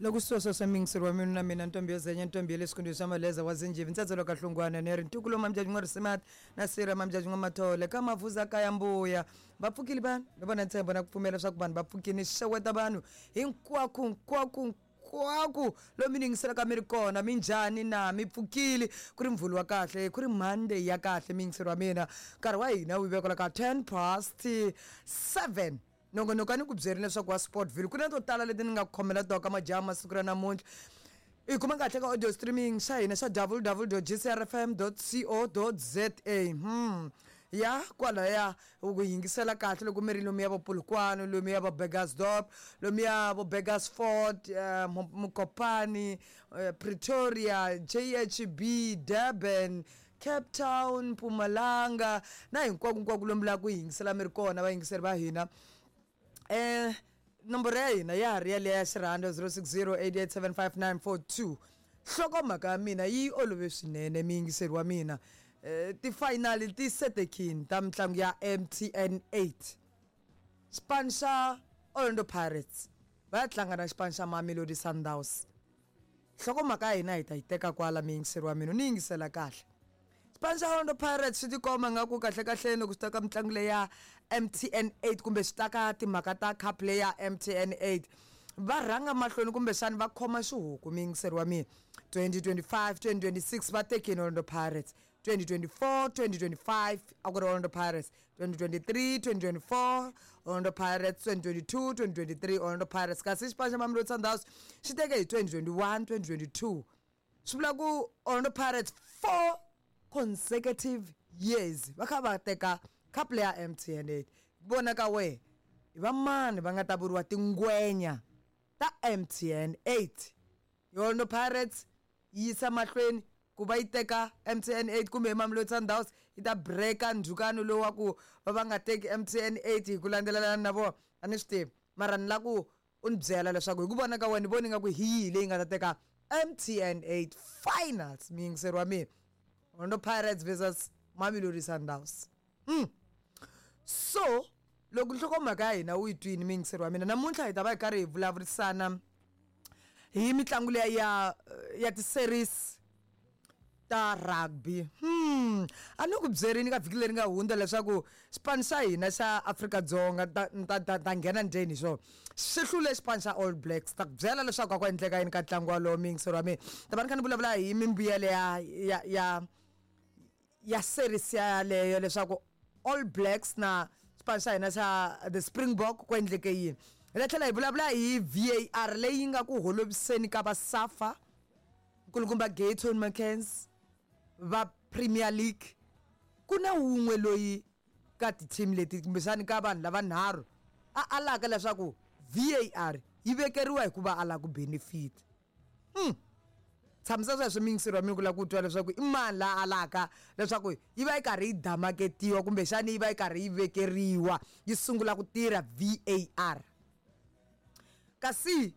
Loko sweswo swa miyingiseri wa mina na mina ntombi yo zenya ntombi ya le xikundwini xa maleza wa zinjivi ntsatsa ka hlungwana ni ri ntukulo mamjaji n'wa risimati na sira mamjaji n'wa mathole ka mavuza kaya mbuya va pfukile vanhu ni vona ntshembo na ku pfumela leswaku vanhu va pfukile xeweta vanhu hinkwako hinkwako hinkwako lomu mi yingiselaka mi ri kona minjhani na mi pfukile ku ri mvhulu wa kahle ku ri monday ya kahle miyingiseri wa mina nkarhi wa hina wu vekola ka 10 past 7. Nongonoko a ni ku byerini leswaku wa Sportville ku na to tala leti ni nga ku khomela tona ka majaha masiku ra namuntlha. I kuma kahle ka audio streaming xa hina xa www.gcrfm.co.za. Ya kwalaya u ku yingisela kahle loko mi ri lomuya vo Polokwane, lomuya vo Burgersdorp, lomuya vo Burgersfort, Mokopane, Pretoria, JHB, Durban, Cape Town, Mpumalanga na hinkwako-nkwako lomu la ku yingisela mi ri kona vayingiseri va hina. Nomboro ya hina ya ha ri yaleya ya xirhando 0608875942. Nhlokomhaka ya mina yi olove swinene muyingiseri wa mina. Ti-final ti setekini ta mitlangu ya MTN 8. Xipano xa Orlando Pirates va ya tlanga na xipano xa Mamelodi Sundowns. Nhlokomhaka ya hina hi ta yi teka kwala muyingiseri wa mina u ni yingisela kahle. Xipano xa Orlando Pirates swi tikomba nga ku kahlekahleni loko swi ta ka mitlangu leyi ya MTN 8 kumbe swi ta ka timhaka ta cup leyi ya MTN 8 va rhanga mahlweni kumbexani va khoma xihuku muyingiseri wa mina 2025 2026 va tekini Orlando Pirates 2024 2025 a ku ri Orlando Pirates 2023 2024 Orlando Pirates 2022 2023 Orlando Pirates kasi xipano xa Mamelodi Sundowns xi teke hi 2021 2022 swi vula ku Orlando Pirates four consecutive years va kha va teka cup leya MTN 8 vona ka wehe i va mani va nga ta vuriwa tingwenya ta MTN 8 Orlando Pirates yi yisa mahlweni ku va yi teka MTN 8 kumbe hi Mamelodi Sundowns yi ta break-a ndzhukano lowu wa ku va va nga teki MTN 8 hi ku landzelelana na vona a ni swi tivi mara ni la ku u ni byela leswaku hi ku vona ka wena ni vona ingaku hi yihi leyi nga ta teka MTN 8 finals muyingiseri wa mina Orlando Pirates versus Mamelodi Sundowns. So loko nhlokomhaka ya hina u yi twini muyingiseri wa mina namuntlha hi ta va hi karhi hi vulavurisana hi mitlangu leya ya ya ti-series ta rugby. A ni ku byerini ka vhiki leri nga hundza leswaku xipano xa hina xa Afrika-Dzonga ta ta ta ta nghena ndzeni hi xona xi hlule xipano xa All Blacks ta ku byela leswaku a ku endleka yini ka ntlangu walowo muyingiseri wa mina ta va ni kha ni vulavula hi mimbuyelo ya ya ya ya series yaleyo leswaku All Blacks na xipano xa hina xa the Springbok ku endleke yini. Hi ta tlhela hi vulavula hi VAR leyi nga ku holoviseni ka va SAFA nkulukumba Gayton McKenzie va Premier League ku na wun'we loyi ka ti-team leti kumbexani ka vanhu lavanharhu a alaka leswaku VAR yi vekeriwa hikuva a lava ku benefit. Tshamisa sweswo muyingiseri wa mina ku lava ku twa leswaku i mani la alaka leswaku yi va yi karhi yi damaketiwa kumbexani yi va yi karhi yi vekeriwa yi sungula ku tirha VAR. Kasi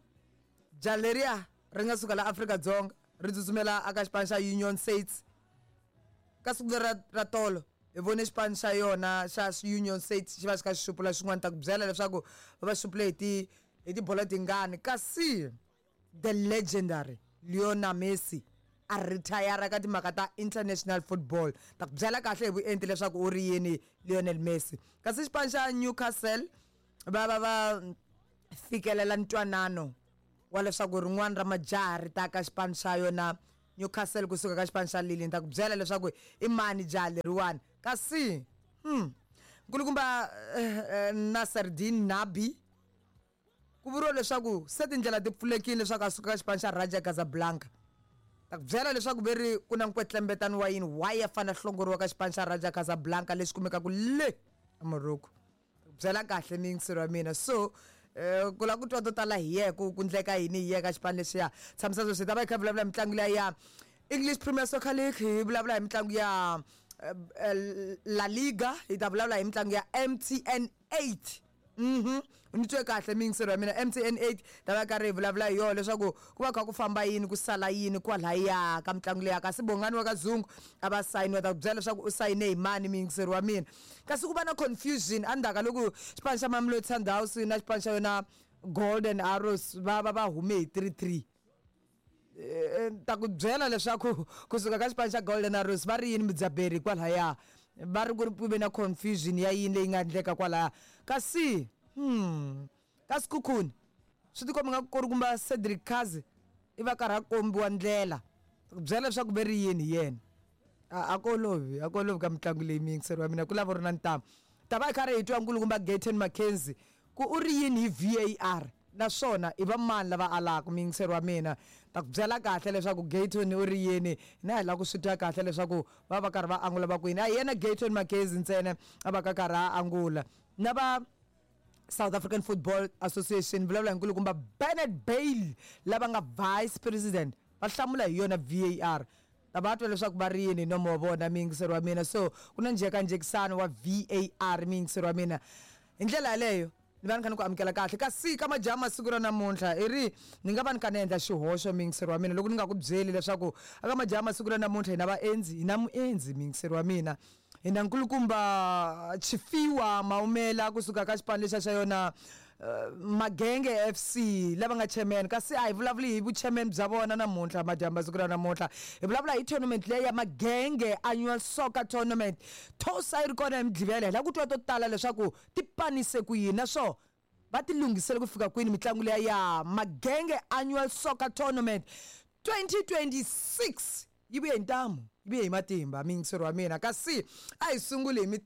jaha leriya ri nga suka la Afrika-Dzonga ri tsutsumela aka xipano xa Union Saints ka siku leri ra tolo hi vone xipano xa yona xa Union Saints xi va xi kha xi xupula xin'wana ta ku byela leswaku va va xupule hi ti hi tibolo tingani kasi The legendary Lionel Messi a rithayara ka timhaka ta international football. Ta ku byela kahle hi vuenti leswaku u ri yini Lionel Messi. Kasi xipano xa Newcastle va va va fikelela ntwanano wa leswaku rin'wana ra majaha ri ta ka xipano xa yona Newcastle kusuka ka xipano xa Lille. Ni ta ku byela leswaku i mani jaha leriwani. Kasi nkulukumba Nasreddine Nabi Ku vuriwa leswaku se tindlela ti pfulekile leswaku a suka ka xipano xa Raja Casablanca. Ta ku byela leswaku ve ri ku na nkwetlembetano wa yini why a fanele a hlongoriwa ka xipano xa Raja Casablanca lexi kumekaka le Morocco. Ta ku byela kahle muyingiseri wa mina. So ku lava ku twa to tala hi yehe ku ku ndleka yini hi yehe ka xipano lexiya. Tshamisa sweswi hi ta va hi kha hi vulavula hi mitlangu liya ya English Premier Soccer League, hi vulavula hi mitlangu ya La Liga, hi ta vulavula hi mitlangu ya MTN 8. Ni twe kahle miyingiseri wa mina MTN 8 ta va karhi hi vulavula hi yona leswaku ku va kha ku famba yini ku sala yini kwalaya ka mitlangu leya kasi Bongani wa ka Zungu a va sayiniwa ta ku byela leswaku u sayine hi mani miyingiseri wa mina kasi ku va na confusion endzhaku ka loko xipano xa Mamelodi Sundowns na xipano xa yona. Golden Arrows va va va hume hi 3-3. Ta ku byela leswaku kusuka ka xipano xa Golden Arrows va ri yini mudzaberi kwalaya, va ri ku ri ku ve na confusion ya yini leyi nga endleka kwalaya. Kasi ka Sekhukhune swi tikomba nga ku ri kumba Cedric Kaze i va karhi a kombiwa ndlela. Ta ku byela leswaku ve ri yini hi yena. A ku olovi, a ku olovi ka mitlangu leyi muyingiseri wa mina, ku lava u ri na ntamu. Ta va hi karhi hi twa nkulukumba Gayton McKenzie ku u ri yini hi VAR naswona i va mani lava alaka. Muyingiseri wa mina, ta ku byela kahle leswaku Gayton u ri yini, hina hi lava ku swi twa kahle leswaku va va karhi va angula va ku yini. A hi yena Gayton McKenzie ntsena a va ka karhi a angula, na va South African Football Association, vulavula hi nkulukumba Bernard Bailey lava nga vice president, va hlamula hi yona VAR. Ta va twa leswaku va ri yini hi nomo wa vona, muyingiseri wa mina. So ku na njhekanjhekisano wa VAR, muyingiseri wa mina. Hi ndlela yaleyo ni va ni kha ni ku amukela kahle. Kasi ka majaha masiku ra namuntlha i ri ni nga va ni kha ni endla xihoxo, muyingiseri wa mina, loko ni nga ku byeli leswaku aka majaha masiku ra namuntlha hi na vaendzi, hi na muendzi, muyingiseri wa mina. Hi na nkulukumba Tshifiwa Maumela kusuka ka xipano lexiya xa yona Magenge FC lava nga chairman. Kasi a hi vulavuli hi vu-chairman bya vona namuntlha, madyambu siku ra namuntlha hi vulavula hi tournament leyi ya Magenge Annual Soccer Tournament. Tosa yi ri kona hi Mugqivela, hi lava ku twa to tala leswaku ti panise ku yini naswona va ti lunghisele ku fika kwini mitlangu leya ya Magenge Annual Soccer Tournament 2026. Yi vuye hi ntamu, yi vuye hi matimba, muyingiseri wa mina. Kasi a hi sunguli hi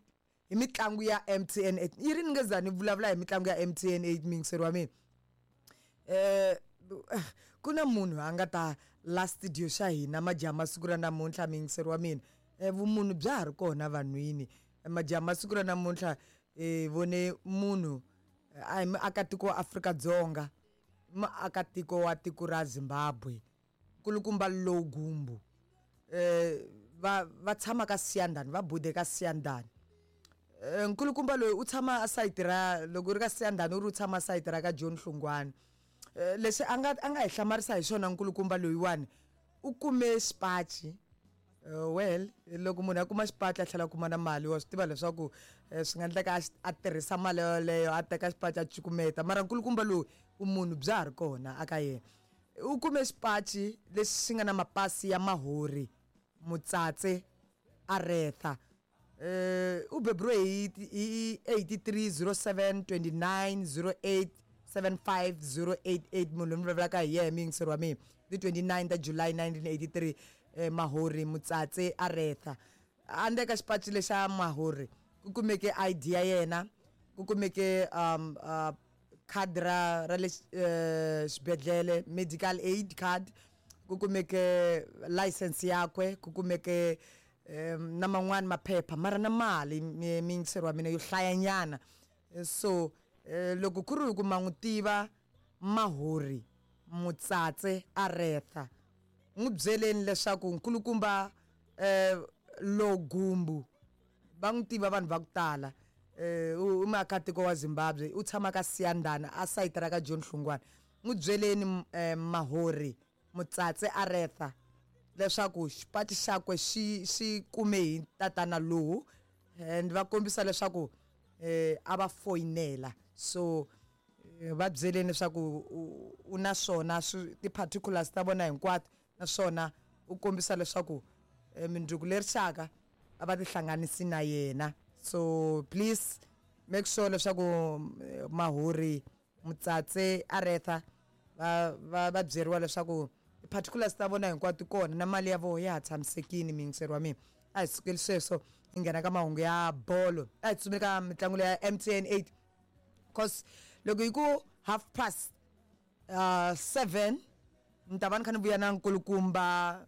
hi mitlangu ya MTN 8. Yi ri ni nge za ni vulavula hi mitlangu ya MTN 8, muyingiseri wa mina. Ku na munhu a nga ta la studio xa hina majaha masiku ra namuntlha, muyingiseri wa mina. Vumunhu bya ha ri kona vanhwini. Majaha masiku ra namuntlha hi vone munhu a hi muakatiko wa Afrika-Dzonga, i muakatiko wa tiko ra Zimbabwe, nkulukumba Low Gumbu. Va va tshama ka Siyandhani, va bude ka Siyandhani. Nkulukumba loyi u tshama a sayiti ra, loko u ri ka Siyandhani u ri u tshama sayiti ra ka John Hlungwani. Lexi a nga a nga hi hlamarisa hi xona nkulukumba loyiwani, u kume xipaci. Well, loko munhu a kuma xipaci a tlhela a kuma na mali, wa swi tiva leswaku swi nga endleka a a tirhisa mali yoleyo a teka xipaci a cukumeta. Mara nkulukumba loyi vumunhu bya ha ri kona aka yena. U kume xipaci lexi xi nga na mapasi ya Mahori Mutsatse Aretha. U beburiwe hi hi 83 07 29 08 75 088, munhu loyi ni vulavulaka hi yena, muyingiseri wa mina, ti 29 ta July 1983, Mahori Mutsatse Aretha. Handle ka xipaci lexa Mahori ku kumeke ID ya yena, ku kumeke khadi ra ra le xibedhlele, medical aid card, ku kumeke license yakwe, ku kumeke na man'wani maphepha, mara na mali, muyingiseri wa mina, yo hlayanyana. So loko ku ri ku ma n'wi tiva Mahori Mutsatse Aretha, n'wi byeleni leswaku nkulukumba Logumbu va n'wi tiva vanhu va ku tala. U muakatiko wa Zimbabwe, u tshama ka Siyandhani a sayiti ra ka John Hlungwani. N'wi byeleni Mahori Mutsatse Aretha leswaku xipaci xakwe xi xi kume hi tatana lowu, and va kombisa leswaku a va foyinela. So va byeleni leswaku u na swona ti-particulars ta vona hinkwato, naswona u kombisa leswaku mindzuku leri xaka a va tihlanganisi na yena. So please make sure leswaku Mahori Mutsatse Aretha va va va byeriwa leswaku ti-particulars ta vona hinkwato ti kona na mali ya vona ya ha tshamisekile. Muyingiseri wa mina, a hi sukeli sweswo hi nghena ka mahungu ya bolo, a hi tsutsumeli ka mitlangu leya MTN 8, cause loko hi ku half past 7 ni ta va ni kha ni vuya na nkulukumba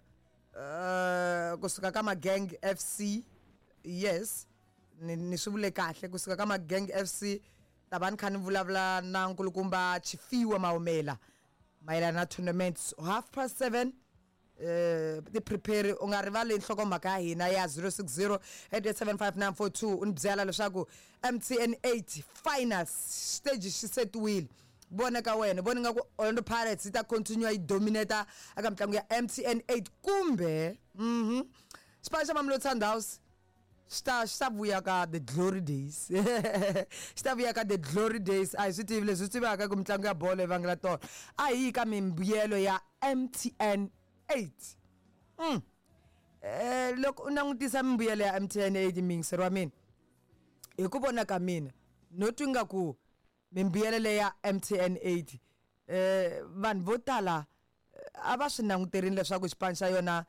kusuka ka Magang FC. Yes, ni ni swi vule kahle, kusuka ka Magang FC ta va ni kha ni vulavula na nkulukumba Tshifiwa Maumela mayelana na tournament. Half past 7, ti prepare, u nga rivali nhlokomhaka ya hina ya 060 8875942, u ni byela leswaku MTN 8 finals stage xi setiwile. Vona ka wena, vona nga ku Orlando Pirates yi ta continue yi dominate eka mitlangu ya MTN 8, kumbe xipano xa Mamelodi Sundowns Swi ta swi ta vuya ka the glory days. Swi ta vuya ka the glory days. A hi swi tivi leswi swi tivaka ku mitlangu ya bolo yi vangela tona. A hi yi ka mimbuyelo ya MTN 8. Loko u langutisa mimbuyelo ya MTN 8 muyingiseri wa mina, hi ku vona ka mina no twi nga ku mimbuyelo leyi ya MTN 8 vanhu vo tala a va swi languterini leswaku xipano xa yona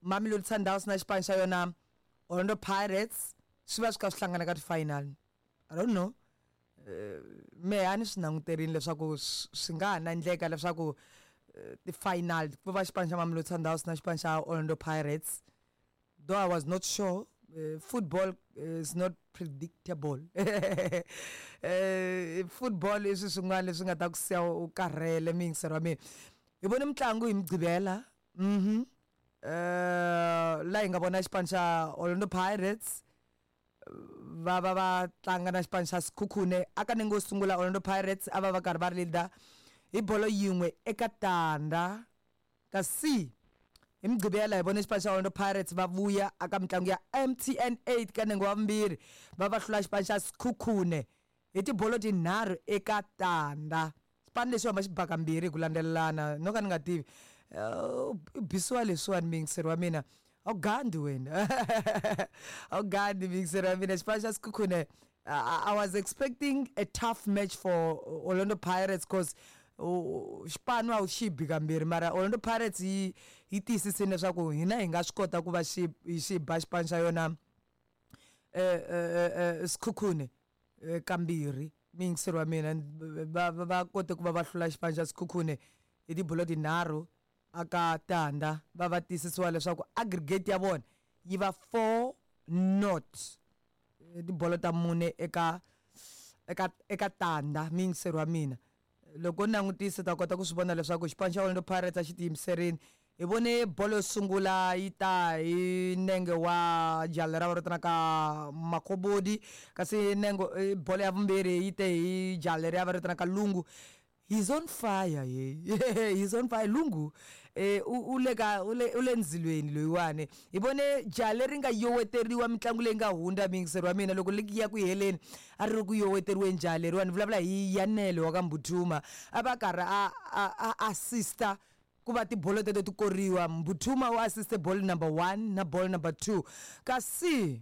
Mamelodi Sundowns na xipano xa yona Orlando Pirates swi va swi kha swi hlangana ka ti-final. I don't know. Mehe a ni swi languterini leswaku swi nga ha na endleka leswaku ti-final ku va xipano xa Mamelodi Sundowns na xipano xa Orlando Pirates. Though I was not sure, football is not predictable. Football i swilo swin'wana leswi nga ta ku siya u karhele muyingiseri wa mina. Hi vone mitlangu hi Mugqivela. La hi nga vona xipano xa Orlando Pirates va va va tlanga na xipano xa Sekhukhune. Aka nenge wo sungula Orlando Pirates a va va karhi va ri leader hi bolo yin'we eka tandza. Kasi hi Mugqivela hi vone xipano xa Orlando Pirates va vuya aka mitlangu ya MTN 8 ka nenge wa vumbirhi va va hlula xipano xa Sekhukhune hi tibolo tinharhu eka tandza. Xipano lexi hamba xi ba kambirhi hi ku landzelelana no ka ni nga tivi u bisiwa leswiwani muyingiseri wa mina a wu gandi wena a wu gandi muyingiseri wa mina. Xipano xa Sekhukhune, I was expecting a tough match for Orlando Pirates cause xipano a wu xi bi kambirhi, mara Orlando Pirates yi yi tiyisisile leswaku hina hi nga swi kota ku va xi xi ba xipano xa yona Sekhukhune kambirhi. Muyingiseri wa mina, va va kote ku va va hlula xipano xa Sekhukhune hi tibolo tinharhu aka tandza, va va tiyisisiwa leswaku aggregate ya vona yi va 4 not, tibolo ta mune eka eka eka tandza. Muyingiseri wa mina, loko u langutisa ta kota ku swi vona leswaku xipano xa Orlando Pirates a xi tiyimiserile. Hi vone bolo yo sungula yi ta hi nenge wa jali ra va vitanaka Makobodi, kasi nengo bolo ya vumbirhi yi te hi jali leri va vitanaka Lungu. He's on fire, ye. He's on fire. Lungu u le ka u le u le ndzilweni loyiwani. Hi vone jaha leri nga yoweteriwa mitlangu leyi nga hundza, muyingiseri wa mina, loko ligi ya ku heleni a ri ri ku yoweteriweni jaha leriwani. Ni vulavula hi Yanele wa ka Mbuthuma, a va karhi a a assista ku va tibolo teto ti koriwa. Mbuthuma u assiste ball number 1 na ball number 2. Kasi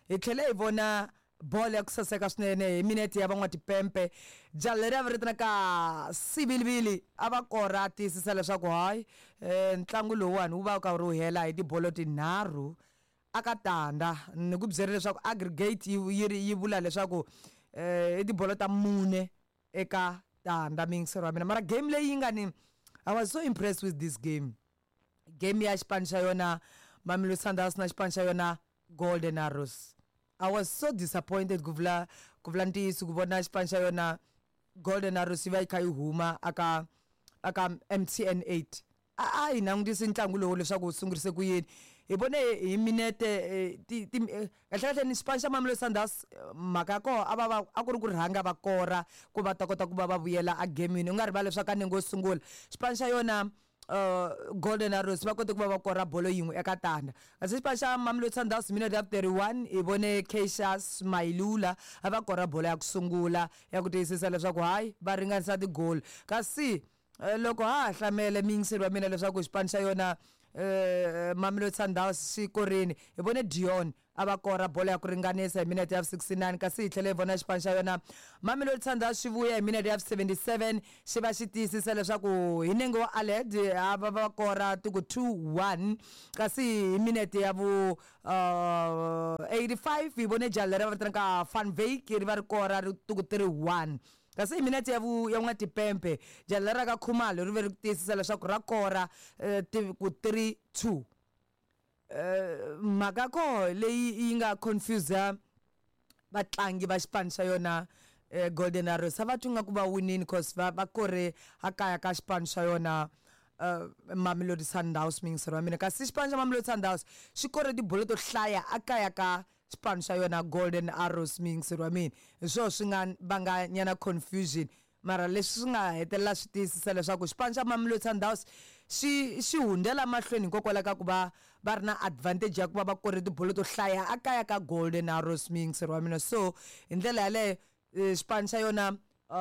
hi tlhele hi vona bolo ya ku saseka swinene hi minete ya van'watipempe. Jaha leri a va vitanaka Sivilivili a va kora a tiyisisa leswaku hayi ntlangu lowuwani wu va wu karhi wu hela hi tibolo tinharhu aka tandza. Ni ku byerile leswaku aggregate yi yi vula leswaku i tibolo ta mune eka tandza, muyingiseri wa mina. Mara game leyi yi nga ni, I was so impressed with this game. Game ya xipano xa yona Mamelodi Sundowns na xipano xa yona Golden Arrows. I was so disappointed ku vula ku vula ntiyiso ku vona xipano xa yona Golden Arrows yi va yi kha yi huma aka aka MTN 8. A hi langutisi ntlangu lowu leswaku wu sungurise ku yini. Hi vone hi minete ti ti kahle kahle ni xipano xa Mamelodi Sundowns mhaka ya koho a va va a ku ri ku rhanga va kora ku va ta kota ku va va vuyela a gemini. U nga rivali leswaku ka nenge wo sungula xipano xa yona Golden Arrows va kote ku va va kora bolo yin'we eka tandza. Kasi xipano xa Mamelodi Sundowns minute ya 31 hi vone Cassius Mailula a va kora bolo ya ku sungula ya ku tiyisisa leswaku hayi va ringanisa ti-goal. Kasi loko ha ha hlamele muyingiseri wa mina leswaku xipano xa yona Mamelodi Sundowns xi korini, hi vone Dion a va kora bolo ya ku ringanisa hi minete ya 69. Kasi hi tlhele hi vona xipano xa yona Mamelodi Sundowns xi vuya hi minete ya 77 xi va xi tiyisisa leswaku hi nenge wa Aled a va va kora tiku 2-1. Kasi hi minete ya vu 85 hi vone jaha leri va vitanaka Van Wyk ri va ri kora ri tiku 3-1. Kasi hi minete ya vu ya n'watipempe jaha leri ra ka Khumalo ri ve ri tiyisisa leswaku ra kora ku 3-2. Mhaka koho leyi yi nga confuse vatlangi va xipano xa yona Golden Arrows, a va twi nga ku va winini cause va va kore a kaya ka xipano xa yona Mamelodi Sundowns, muyingiseri wa mina. Kasi xipano xa Mamelodi Sundowns xi kore tibolo to hlaya a kaya ka xipano xa yona Golden Arrows, muyingiseri wa mina. Hi swona swi nga vanga nyana confusion. Mara leswi swi nga hetelela swi tiyisisa leswaku xipano xa Mamelodi Sundowns xi xi hundzela mahlweni hikokwalaho ka ku va va ri na advantage ya ku va va kore tibolo to hlaya a kaya ka Golden Arrows, muyingiseri wa mina. So hi ndlela yaleyo xipano xa yona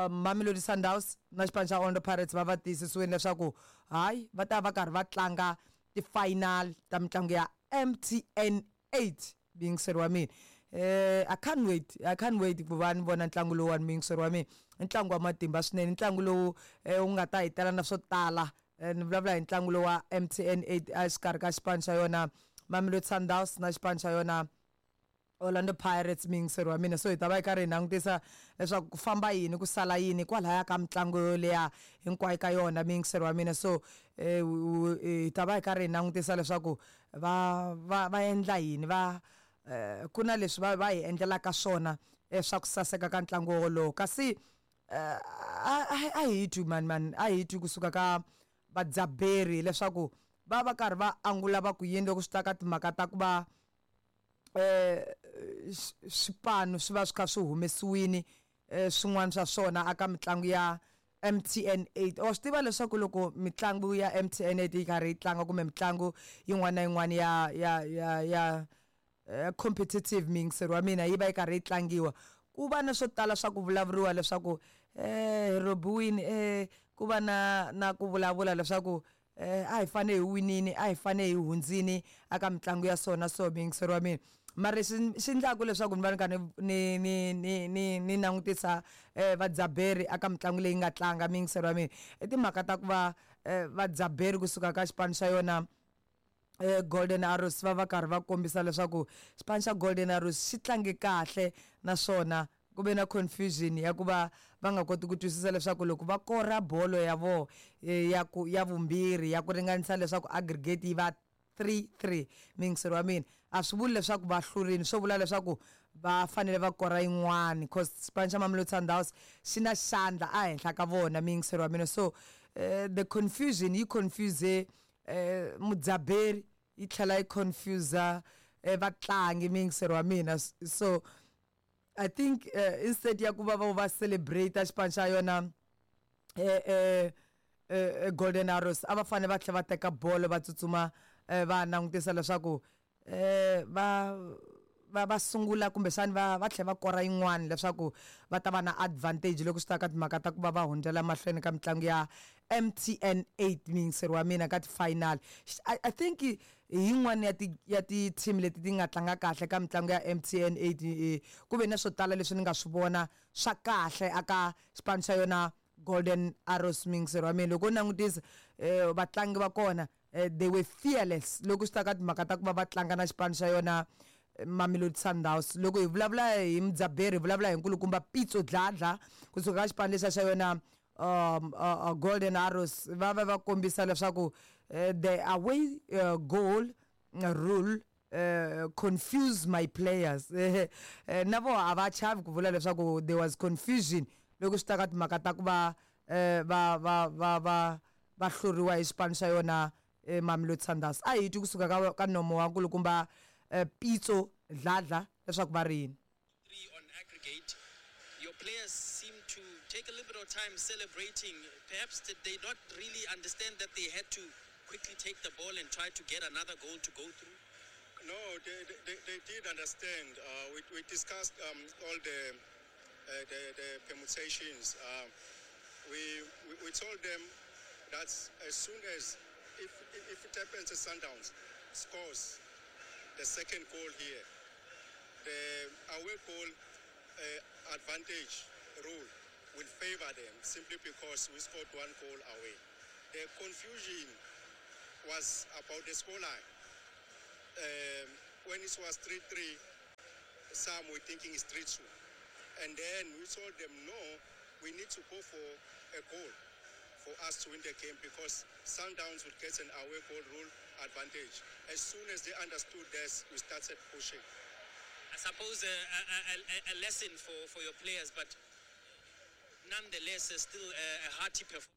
Mamelodi Sundowns na xipano xa Orlando Pirates va va tiyisisiwile leswaku hayi va ta va karhi va tlanga ti-final ta mitlangu ya MTN 8, muyingiseri wa mina. I can't wait, I can't wait ku va ni vona ntlangu lowuwani, muyingiseri wa mina. I ntlangu wa matimba swinene, ntlangu lowu wu nga ta hi tela na swo tala. Ni vulavula hi ntlangu lowu wa MTN 8 exikarhi ka xipano xa yona Mamelodi Sundowns na xipano xa yona Orlando Pirates, muyingiseri wa mina. So hi ta va hi karhi hi langutisa leswaku ku famba yini, ku sala yini kwalaya ka mitlangu yoleya hinkwayo ka yona, muyingiseri wa mina. So hi ta va hi karhi hi langutisa leswaku va va va endla yini, va ku na leswi va va hi endlelaka swona swa ku saseka ka ntlangu wolowo. Kasi a hi twi mani mani, a hi twi kusuka ka vadzaberi leswaku va va karhi va angula va ku yini loko swi ta ka timhaka ta ku va swipano swi va swi kha swi humesiwini swin'wana swa swona aka mitlangu ya MTN 8. Wa swi tiva leswaku loko mitlangu ya MTN 8 yi karhi yi tlanga kumbe mitlangu yin'wana na yin'wana ya competitive, muyingiseri wa mina, yi va yi karhi yi tlangiwa, ku va na swo tala swa ku vulavuriwa leswaku hi robiwini, ku va na ku vulavula leswaku a hi fane hi winini, a hi fane hi hundzini aka mitlangu ya sona. So muyingiseri wa mina, mara lexi xi endlaku leswaku ni va ni kha ni langutisa vadzaberi aka mitlangu leyi nga tlanga, muyingiseri wa mina, i timhaka ta ku va vadzaberi kusuka ka xipano xa yona Golden Arrows va va karhi va kombisa leswaku xipano xa Golden Arrows xi tlange kahle, naswona ku ve na confusion ya ku va va nga koti ku twisisa leswaku loko va kora bolo ya vo ya ku ya vumbirhi ya ku ringanisa leswaku aggregate yi va 3-3, muyingiseri wa mina, a swi vuli leswaku va hlurini, swo vula leswaku va fanele va kora yin'wani cause xipano xa Mamelodi Sundowns xi na xandla ehenhla ka vona, muyingiseri wa mina. So the confusion yi confuse mudzaberi, yi tlhela yi confuse vatlangi, muyingiseri wa mina. So I think instead ya ku va va va celebrate xipano xa yona Golden Arrows, a va fanele va tlhela va teka bolo va tsutsuma va langutisa leswaku va va va sungula kumbexani va va tlhela va kora yin'wana leswaku va ta va na advantage loko swi ta ka timhaka ta ku va va hundzela mahlweni ka mitlangu ya MTN 8, muyingiseri wa mina, ka ti-final. I think hi yin'wana ya ti-team leti ti nga tlanga kahle ka mitlangu ya MTN 8. Ku ve na swo tala leswi ni nga swi vona swa kahle aka xipano xa yona Golden Arrows, muyingiseri wa mina. Loko u langutisa vatlangi va kona, they were fearless loko swi ta ka timhaka ta ku va va tlanga na xipano xa yona Mamelodi Sundowns. Loko hi vulavula hi mudzaberi, hi vulavula hi nkulukumba Pitso Dladla kusuka ka xipano lexiya xa yona Golden Arrows, va va va kombisa leswaku the away goal rule confuse my players. Na vo a va chavi ku vula leswaku there was confusion loko swi ta ka timhaka ta ku va va va va va va hluriwa hi xipano xa yona Mamelodi Sundowns. A hi twi kusuka ka nomo wa nkulukumba Pitso Dladla leswaku va ri yini. 3 on aggregate. Your players seem to take a little bit of time celebrating. Perhaps did they not really understand that they had to quickly take the ball and try to get another goal to go through? No, they did understand. We discussed all the permutations. We told them that as soon as, if it happens at Sundowns scores the second goal here, the away goal advantage rule will favor them simply because we scored one goal away. The confusion was about the scoreline. When it was 3-3, some were thinking it's 3-2. And then we told them, no, we need to go for a goal for us to win the game because Sundowns would get an away goal rule advantage. As soon as they understood this, we started pushing. I suppose a lesson for your players, but nonetheless, still a hearty performance.